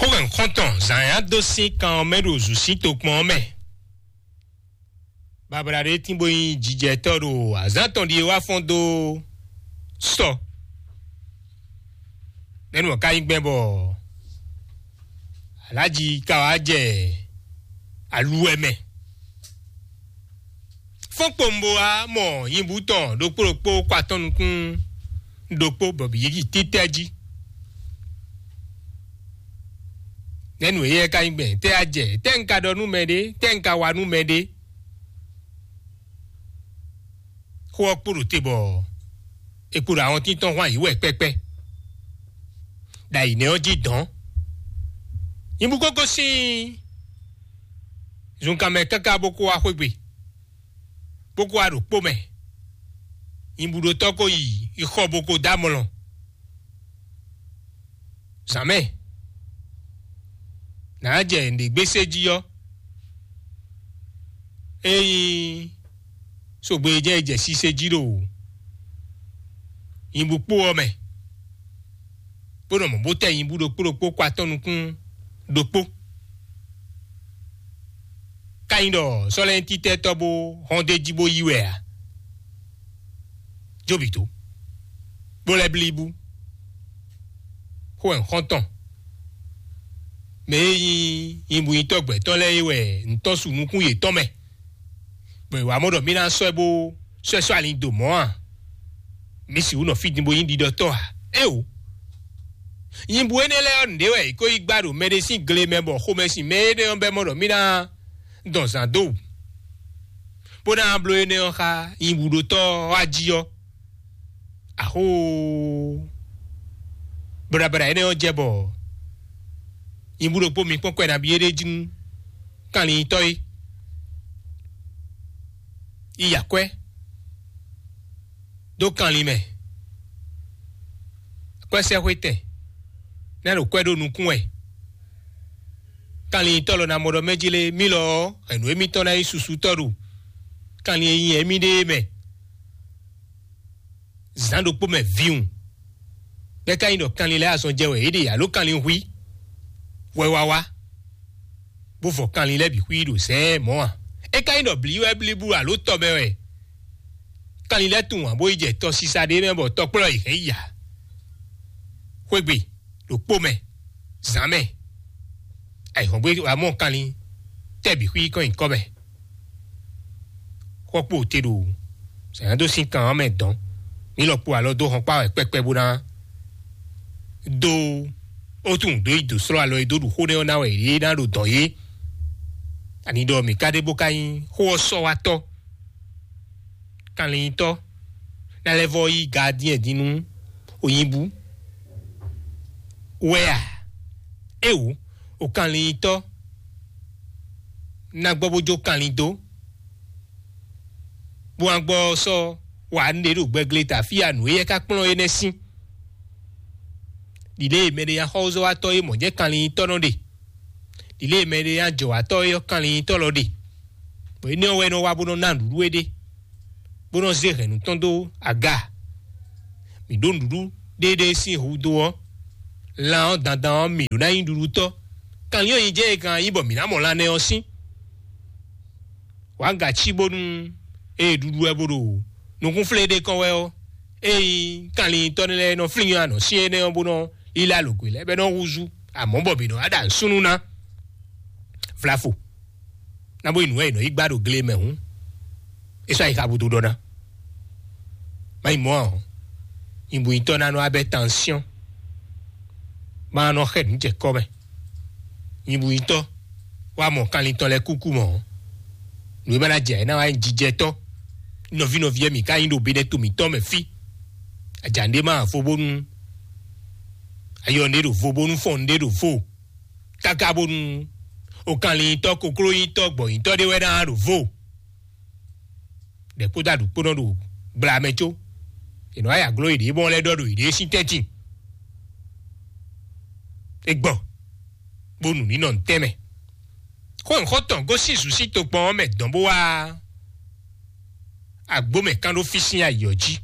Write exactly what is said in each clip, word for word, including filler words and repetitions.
Xó hɛn xɔ́ntɔn zǎn ya dó sín kan ɔ́ mɛ ɖo zǔsín tokpɔn ɔ́ mɛ. Babla ɖé tín bó nyí jijɛtɔ́ ɖo azǎn tɔn ɖíe wá fɔ́n dó sɔ. Nɛ́nú ɔ́ ka nyí gbɛn bɔ alájí ka wá jɛ aluwɛ mɛ. Fɔ́n kpowun bó wá mɔ nyibú tɔn ɖokpó ɖokpó kɔ atɔ́ nukún ɖokpó bɔ bǐ yi títɛ́ jí. Nɛ́nú éyɛ́ ka nyí gbɛn tɛ́ a jɛ tɛ́ un ka ɖɔ nú mɛɖé tɛ́ un ka wa nú mɛɖé. Xó ɔ́ kpo ɖo te bɔ è kpo ɖo awɔntín tɔn hwan yǐ wɛ kpɛ́kpɛ́. Ɖo ayǐ nɛ́ ɔ́ jí dɔ̌n. Nyibú kókó sín zunkan mɛ káká bó kó wá xwé gbe, bó kó wá ɖo kpó mɛ. Nyibúɖótɔ́ ko yi yi xɔ bó ko dó amlɔ. Zǎn mɛ nǎ jɛ nǔɖé gbésé jí ɔ́, ényí sogbe e jɛ yi jɛ sise jí ɖo nyibú kpó ɔ́ mɛ, bó nɔ mɔ̌ bó tɛ nyibú ɖokpó ɖokpó kɔ atɔ́ nukún ɖokpó. Ka nyí ɖɔ sɔ́lɛ́ntítɛ́tɔ́ bó hɔn d'é jí bó yí wɛ ǎ. Jóbǐ dó, bó lɛ́ blí bú. Xó wɛ un xɔ́n tɔn. Mɛ e nyí nyibúnyitɔ́ gbɛ̌tɔ́ lɛ́ɛ é wɛ un tɔ́n su nukún yětɔn mɛ, bɔ è wǎ mɔ ɖɔ mì ná sɔ́ ɛ bó sɔ́ ɛ sɔ́ alin dó mɔ̌ a? Mǐ sixú nɔ fí din bó nyí ɖiɖɔtɔ́ a? Éeǒ! Nyibú énɛ́ lɛ́ɛ ɔ́, nǔɖé wɛ è ko yi gbá ɖo mɛɖé sín gle mɛ bɔ xomɛ sin mɛ énɛ́ ɔ́ bɛ́ mɔ ɖɔ mì ná dɔn zǎn dó wǔ, bó ná bló énɛ́ ɔ́ xá nyibúɖótɔ́ ɔ́ wá jí ɔ́. Axóo! Blabla énɛ́ ɔ́ jɛ bɔ nyibú ɖokpó mi kpɔ́n kwɛ nabí é ɖé jí nú kanlintɔ́ é. Yi akwɛ́ dó kanlin mɛ. Akwɛ́sɛ́xwétɛn ná ɖo kwɛ́ ɖó nukún wɛ. Kanlintɔ́ lɔ ná mɔ ɖɔ mɛ jí lé mí lɔ ɔ́, hɛ̌nnu émítɔn ná nyí susútɔ́ ɖo kanlin e nyi émí ɖe é mɛ. Zǎn ɖokpó mɛ vǐwun, bɛ́ ka nyí ɖɔ kanlin lɛ́ɛ azɔn jɛ wɛ yě ɖe alo kanlin hwí hwɛ wá wá, bó vɔ kanlin lɛ́ɛ bǐ xwí ɖo zɛ̌ɛn mɔ̌ a? É ka nyí ɖɔ blǐ wɛ blíbú alo tɔ mɛ wɛ kanlin lɛ́ɛ tunwun ǎ bó yi jɛ tɔsisa ɖé mɛ bɔ tɔkplɔ́ yi hɛn yi ǎ. Xwé gbe ɖo kpó mɛ, zǎn mɛ, ayǐhɔ́ngbe wá mɔ kanlin tɛ́ bǐ xwí kɔn nyi kɔ́ mɛ. Xɔ kpo te ɖo zǎn dó sín kan ɔ́ mɛ dɔn. Mǐ lɔ kpo alɔ dó hɔn kpá wɛ kpɛkpɛ bó ná dó ó tunwun dó yi dǒ slɔ́ alɔ e dó ɖu xó nɛ́ ɔ́ ná wɛ yě ná ɖo dɔ̌n yé. Ani ɖɔ mǐ ka ɖe bó ka nyí xó ɔ́ sɔ́ wá tɔ́, kanlintɔ́ ná lɛ́ vɔ́ yí gadyɛ́n din nú onyibú wɛ a? Éwo, o kanlintɔ́ ná gbɔ bó jó kanlin dó, bó wá gbɔ sɔ́ wa nǔɖé ɖo gbɛgle ta fí a nǔ éyɛ́ ka kplɔ́n énɛ́ sín. Ɖiɖée mɛɖé nyi axɔ́zɔ́watɔ́ e mɔ̌ jɛ́n kanlintɔ́ nɔ ɖe. Ɖiɖée mɛɖé nyi ajɔ̌watɔ́ e ɔ́ kanlintɔ́ lɔ ɖe, bɔ énɛ́ ɔ́ wɛ nɔ wá bó nɔ ná nǔɖuɖu éɖée, bó nɔ zé hɛ̌nnu tɔn dó aga. Mǐ ɖó nǔɖuɖu ɖéeɖée sín hudó ɔ́, lan ɔ́ dandan ɔ́, mǐ ɖó ná nyí ɖuɖutɔ́. Kanlin ɔ́ nyi jɛ́n e kan nyí bɔ mǐ ná mɔ lan nɛ́ ɔ́ sín. Wǎ ga cí bónú ée ɖuɖu wɛ bó ɖo nukúnflé ɖé kɔn wɛ ɔ́, ée nyí kanlintɔ́ lɛ́ɛ nɔ flín anɔ̌ syɛ́n énɛ́ ɔ́ bó nɔ lílá lǒgbe lɛ́ɛ bɔ é nɔ húzú, amɔ̌ bɔ mǐ nɔ wá ɖo asúnú ná. Vlafo ná bó yi nǔ wɛ è nɔ yi gbá ɖo gle mɛ hǔn, é sɔ́ ayixa búdú ɖɔ ná. Má yi mɔ̌ ǎ ɔ́, nyibúnyitɔ́ ná nɔ wá bɛ́ tansyɔ́n, má nɔ xɛ nǔ jɛ kɔ́ mɛ. Nyibúnyitɔ́ wá mɔ kanlin tɔn lɛ́ɛ kúkú mɔ̌. Nǔ e ma ná jɛ ná wá nyí jijɛtɔ́ nɔví nɔví e mǐ ka nyí ɖo Benɛto mǐtɔn mɛ fí. Aja nǔɖé ma vo bónú ayɔ nǔɖé ɖo vo bónú fɔn nǔɖé ɖo vo. Káká bónú okanlintɔ́ koklónyitɔ́ gbɔ̌nyitɔ́ ɖé wɛ ná ɖo vo. Ɖɛ kpódó aɖǔ kpó nɔ ɖo gbla mɛ có. È nɔ wá ya gló yěɖée bɔ lɛ́ ɖɔ ɖo yěɖée sín tɛ́ntin. É gbɔ bónú ní nɔ ntɛ́nmɛ. Xó nǔxɔ́tɔn gosín zǔsí tokpɔn ɔ́ mɛ dɔn bó wá agbó mɛ kán ɖó fí sín ayǐ ɔ́ jí.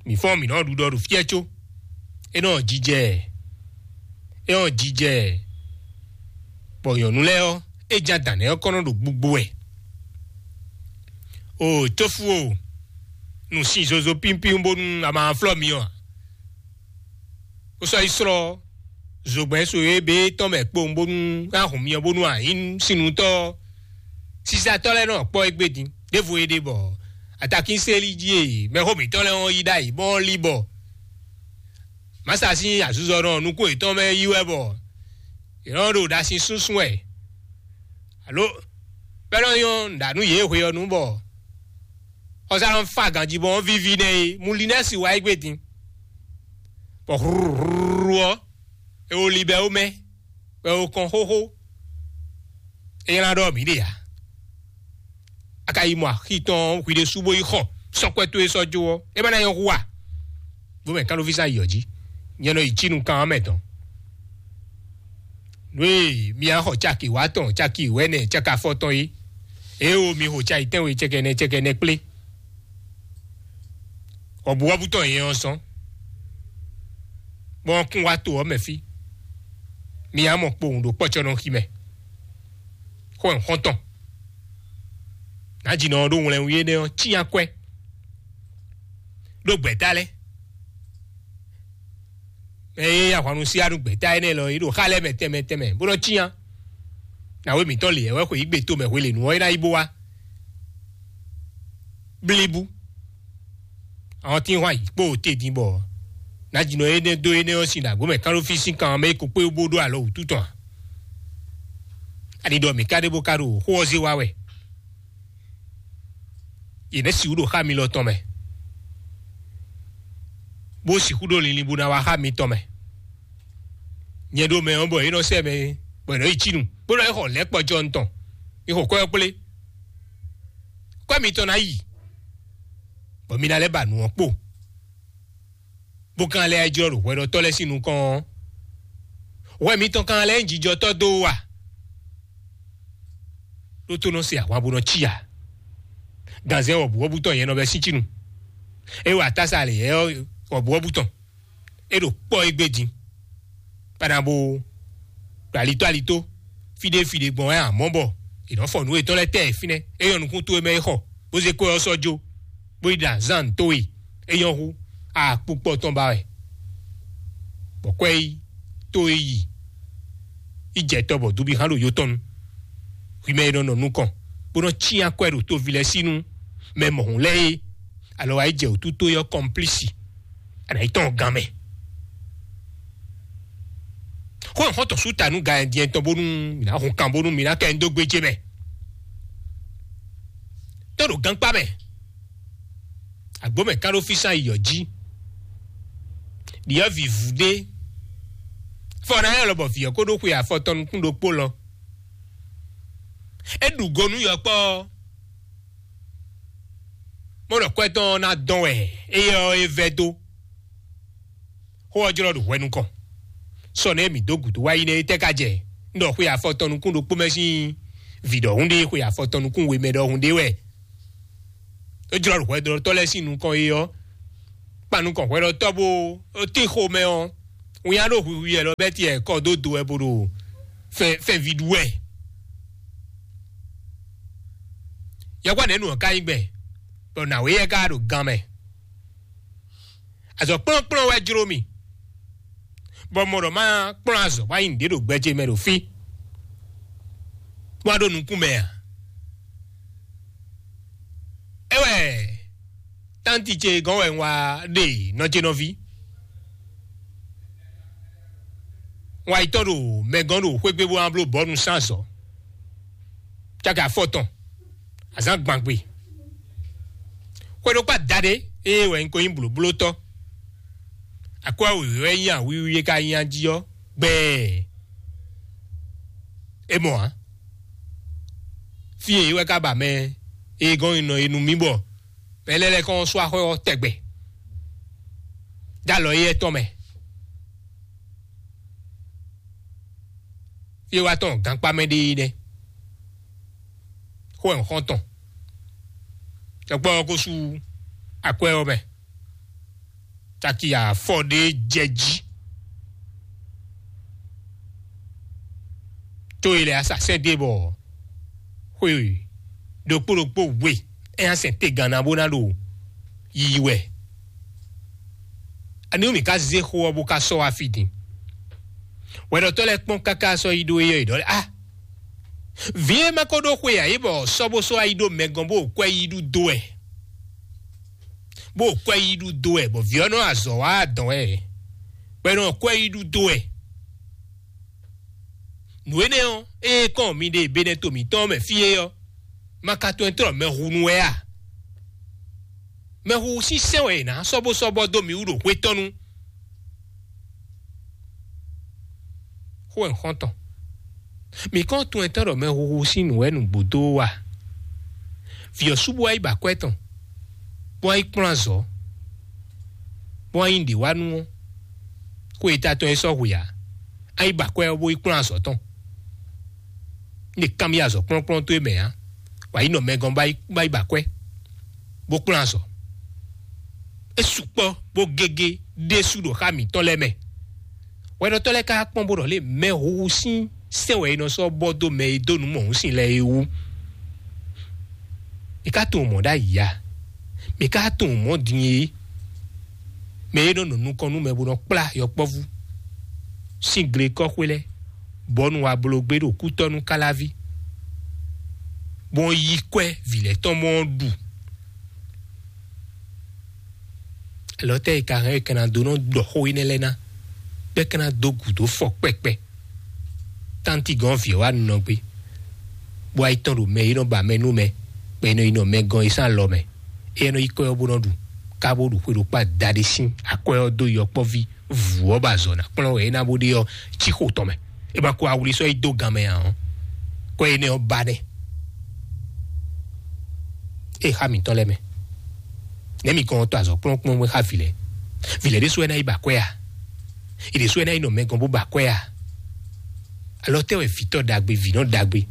Mǐ fɔ́n mǐ nɔ ɖuɖɔ ɖo fí ɛ có é nɔ jijɛ É ɔ́ jijɛ, bɔ nyɔ̌nu lɛ́ɛ ɔ́, é ján dǎn nɛ́ ɔ́ kɔn nɔ ɖo gbugbo wɛ. O tófú o, nǔ sin zozo pínpín bónú a ma flɔ́ mi ɔ́ ǎ. Ó sɔ́ yi slɔ́ zogbɛ́n so e bé tɔn mɛ kpowun bónú a hun myɔ bónú a nyǐ sinutɔ́ ɔ́. Sisatɔ́ lɛ́ɛ nɔ kpɔ́ égbé din ɖěvo é ɖe bɔ atakínseli jí e mɛxó mǐtɔn lɛ́ɛ ɔ́ yí ɖ'ayǐ bɔ ɔ́ lí bɔ mǎsa sín azuzɔnɔ nukún yětɔn mɛ yí wɛ bɔ yě nɔ ɖo ɖasin súnsún wɛ alo bɛ́ nɔ nyɔ́ nǔɖanú yě hwe ɔ́ nu bɔ xɔsá nɔ fa ganjí bɔ ɔ́ víví nɛ́ é. Mulinɛ́si wá égbé din bɔ hlúhlúhlú ɔ́, é wo li bɛ́ ó mɛ bɔ é wo kɔn xóxó. É nylá ɖɔ mǐ ɖe ǎ. A ka yi mɔ axi tɔn hwi ɖésú bó yi xɔ sɔ́kwɛ́ towe sɔ́ jó ɔ́, é ma ná nyɔ́ hu a? Bó mɛ kánɖófísa yi ɔ́ jí, nyɛ nɔ yi cí nukán ɔ́ mɛ tɔn. Nú e mi wá xɔ caki wá tɔn, caki wɛ̌nɛ, caki afɔtɔn é, é wo mi xo cayi tɛ́nwe cɛkɛnɛ cɛkɛnɛ kplé. Wɔ̌buwɔ́bú tɔn nyɛ ɔ́ zɔ́n, bɔ ɔ́ kún wá to ɔ́ mɛ fí. Mi wá mɔ kpowun ɖo kpɔ́cɔ́nɔxi mɛ. Xó ɛ xɔ́ntɔn. Nǎjínɔ ɔ́ ɖó wlɛnwí énɛ́ ɔ́ cyán kwɛ́ ɖó gbɛ̌ta lɛ́ɛ. Mɛ e yí ahwannu sí anu gbɛ̌ta énɛ́ lɔ é ɖo xá lɛ́ɛ mɛ tɛnmɛ tɛnmɛ bó nɔ́ cyán. Nǎwe mǐtɔn lě wɛ xwe yí gbe tomɛ hwelěnu ɔ́ é ná yi bó wá. Blíbú. Àwọn tí ń hwan yǐ kpó te din bɔ nǎjínɔ énɛ́ dó énɛ́ ɔ́ sín ɖàgbó mɛ kánɖófí sín kan mɛ é ko kpé bó ɖó alɔ wǔtu tɔn ǎ. Ani ɖɔ mǐ ka ɖe bó ka ɖo xó ɔ́ zé wá wɛ. Yě nɛ́ sixú ɖo xá mi lɔ tɔn mɛ, bó sixú ɖo linlin bó ná wá xá mi tɔn mɛ. Nyɛ ɖo mɛ ɔ́ bɔ é nɔ sɛ mɛ bɔ é nɔ yi cí nu, bó nɔ yi xɔ lɛ̌ kpɔjɔ tɔn. Mi xɔ kwɛ́ ɔ́ kplé. Kwɛ́ mitɔn ná yi, bɔ mi ná lɛ́ ba nǔ ɔ́ kpo. Bó kan lɛ́ jlɔ́ ɖo hwɛɖɔtɔ́ lɛ́ɛ sín nukɔn ɔ́, hwɛ mitɔn kan lɛ́ nyí jijɔtɔ́ dó wú a? Ɖó tó nɔ se ahwan bó nɔ cí a? Ganzɛ́n wɔ̌buwɔ́bú tɔn nyɛ nɔ bɛ́ sín cí nu. É wa tása lě yɛ wɔ̌buwɔ́bú tɔn. É ɖo kpɔ́ égbé din. Bana bo ɖo alitó alitó, fíɖé fíɖé gbɔn wɛ amɔ̌ bɔ è nɔ fɔ nǔ yětɔn lɛ́ɛ tɛ fínɛ́. É nyɔ́ nukún towe mɛ é xɔ, bó zé kó ɔ́ sɔ́ jó, bó yi ɖo azán towe, é nyɔ́ hú akpukpɔ tɔn ba wɛ. Bɔ kwɛ́ yi, tó e yi, yi jɛ tɔ bɔ dubi hán ɖo yotɔn nu. Hwi mɛ e nɔ nɔ nukɔn, bó nɔ cyán kwɛ́ ɖo toví lɛ́ɛ sí nú mɛ mɔ̌hun lɛ́ɛ é, alɔ wá yi jɛ wǔtu tó yɔ́ kɔmplísi. Ana yi tɔn gan mɛ. Xó xɔ́ntɔn sú ta nú gan diɛn tɔn bónú mǐ ná hun kan bónú mǐ ná kɛ nyi dó gbéjé mɛ. Tɔ́ ɖo gankpá mɛ. Agbǒ mɛ kán ɖó físán yi yɔ̌ jí. Ɖyɔ̌vǐ vú ɖé. Fɔ ná nyɔ́ lɔ bɔ vǐ ɔ́ kó ɖó xwe afɔ tɔn nukún ɖokpó lɔ. É ɖu go nú yɔkpɔ́ ɔ́. Mɔɖɔkwɛ́ tɔn ɔ́ ná dɔn wɛ éyɛ́ ɔ́ é vɛ́ dó. Xó ɔ́ jlɔ́ ɖo hwɛ nukɔn. Sɔ nɛ́ mǐ dó gǔdo wá yi nɛ́ é tɛ́ ka jɛ? Un ɖɔ xwe afɔ tɔn nukún ɖokpó mɛ sín vǐ ɖɔhun ɖé, xwe afɔ tɔn nukún we mɛ ɖɔhun ɖé wɛ. É jlɔ́ ɖo hwɛɖɔtɔ́ lɛ́ɛ sín nukɔn é ɔ́, kpan nukɔn hwɛɖɔtɔ́ bó tín xomɛ ɔ́, winnyá ɖo hwihwi wɛ lɔ bɛ́ tiɛ kɔ dó do wɛ bó ɖo fɛnví ɖu wɛ. Yɔkpɔ́ nɛ̌ nu ɔ́ ka nyí gbɛn, bɔ nǎwe yɛ ka ɖo gan mɛ. Azɔ̌ kplɔ́nkplɔ́n wɛ jló mì, bɔ mɔ ɖɔ má kplɔ́n azɔ̌ bó ná nyi nǔɖé ɖo gbɛ ce mɛ ɖo fí, bó wá ɖo nukún mɛ ǎ. É wɛ tánti ce gɔ́n wɛ un wá ɖe nɔ ce nɔví. Un wá yi tɔ́n ɖo mɛ gɔ́n ɖo xwé gbe bó ná bló bɔ̌nu sín azɔ̌. Cáka afɔtɔn, azǎn gbangbe. Xwe ɖokpó adaɖé ée wɛ un ko nyí blǒblótɔ́. Akwɛ́ wěwé wɛ nyí awíwí e ka nyi ají ɔ́ gbɛɛ. É mɔ ǎ. Fí e é wɛ ka ba mɛ e gɔ́n nɔ e nú mì bɔ mɛ lɛ́ɛ lɛ́ kɔn sú axɔ́ ɔ́ tɛgbɛ. Dó alɔ éyɛ́ tɔn mɛ. Fí e wá tɔn gankpá mɛ ɖe é nɛ́. Xó ɛ xɔ́ntɔn. Tɔkpɔ ɔ́ ko sú akwɛ́ ɔ́ mɛ. Caki afɔ ɖé jɛ jí. Tó e lɛ asasɛ́ ɖe bɔ xwe ɖokpó ɖokpó we é nya sɛn te ganna bó ná ɖo yiyi wɛ. Ani mi ka zé xó ɔ́ bó ka sɔ́ wá fí din? Wɛɖɔtɔ́ lɛ́ɛ kpɔ́n káká sɔ́ yi ɖó éyɛ́ yi ɖɔ lɛ́ɛ, ah, vǐ e ma ko ɖó xwe ǎ é bɔ sɔ́ bó sɔ́ wá yi ɖó mɛ gɔ́n bó kwɛ yi ɖu dó wɛ, bó kwɛ yi ɖu dó wɛ bɔ vǐ ɔ́ nɔ azɔ̌ wá adɔn wɛ, bɔ é nɔ kwɛ yi ɖu dó wɛ. Nǔ énɛ́ ɔ́, ée kɔn mi ɖe Benɛto mǐtɔn mɛ fí é ɔ́, ma ka tunwun tlɔ́ mɛhunu wɛ a? Mɛhuhu sín sɛ́n wɛ è nǎ sɔ́bɔ́sɔ́bɔ́ dó mì wú ɖo hwetɔ́nu. Xó wɛ xɔ́ntɔn. Mǐ kɔn tunwun tɔn ɖɔ mɛhuhu sín nǔ wɛ nǔgbó dó wa. Vǐ ɔ́ sú bó wá yi ba akwɛ́ tɔn, bó wá yi kplɔ́n azɔ̌, bó wá yi ɖě wá nú ɔ́, xó e ta tɔn e sɔ́ hwe ǎ. A yi ba akwɛ́ ɔ́ bó yi kplɔ́n azɔ̌ tɔn. Ní è kanbyɔ́ azɔ̌ kplɔ́nkplɔ́n towe mɛ ǎ, wǎ yi nɔ mɛ gɔ́n bá yi bá yi ba akwɛ́, bó kplɔ́n azɔ̌. É sukpɔ́ bó gégé ɖésú ɖo xá mǐtɔn lɛ́ɛ mɛ. Hwɛɖɔtɔ́ lɛ́ɛ ka kpɔ́n bó ɖɔ lé mɛ huhu sín sɛ́n wɛ è nɔ sɔ́ bɔ dó mɛ e dó nǔ mɔ̌hun sin lɛ́ɛ é wú. Mi ka tunwun mɔ̌ ɖ'ayǐ a? Mi ka tunwun mɔ̌ din é? Mɛ e nɔ nɔ nukɔn nú mɛ bó nɔ kplá yɔkpɔ́vú sín glekɔ́xwé lɛ́ɛ, bɔ nú wa bló gbé ɖo kútɔ́ nú káláví, bó yí kwɛ́ vǐ lɛ́ɛ tɔn mɔ ɔ́ ɖu. Alɔ tɛ́ e ka hɛn e ka ná dó nɔ ɖɔ xó énɛ́ lɛ́ɛ ná, bɔ é ka ná dó gǔdo fɔ kpɛkpɛ? Tánti gɔ́n vǐ ɔ́ wá nɔ gbé, bó wá yi tɔn ɖo mɛ e nɔ ba mɛ nú mɛ, bɔ è nɔ yi nɔ mɛ gɔ́n é sín alɔ mɛ. Éyɛ́ nɔ yi kɔ́ ɔ́ bó nɔ ɖu, ká bó ɖu xwe ɖokpá daɖé sín akwɛ́ ɔ́ dó yɔkpɔ́ví vǔ ɔ́ ba azɔ̌ ná kplɔ́n wɛ é ná bó ɖe ɔ́ cí xo tɔn mɛ. É ma ko awli sɔ́ yi dó gan mɛ ǎ ɔ́, kɔ́ énɛ́ ɔ́ ba nɛ́. É xa mǐtɔn lɛ́ɛ mɛ. Nɛ̌ mi kɔn tɔ azɔ̌ kplɔ́nkplɔ́n xá vǐ lɛ́ɛ? Vǐ lɛ́ɛ ɖésú wɛ ná yi ba akwɛ́ a? È ɖě sú wɛ ná yi nɔ mɛ gɔ́n bó ba akwɛ́ a? Alɔ tɛ́ wɛ vǐtɔ́ ɖagbe, vǐnɔ ɖagbe,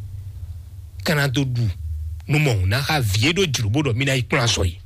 ka ná dó ɖu nú mɔ̌hun ná xá vǐ e ɖó jlǒ bó ɖɔ mì ná yi kplɔ́n azɔ̌ yi?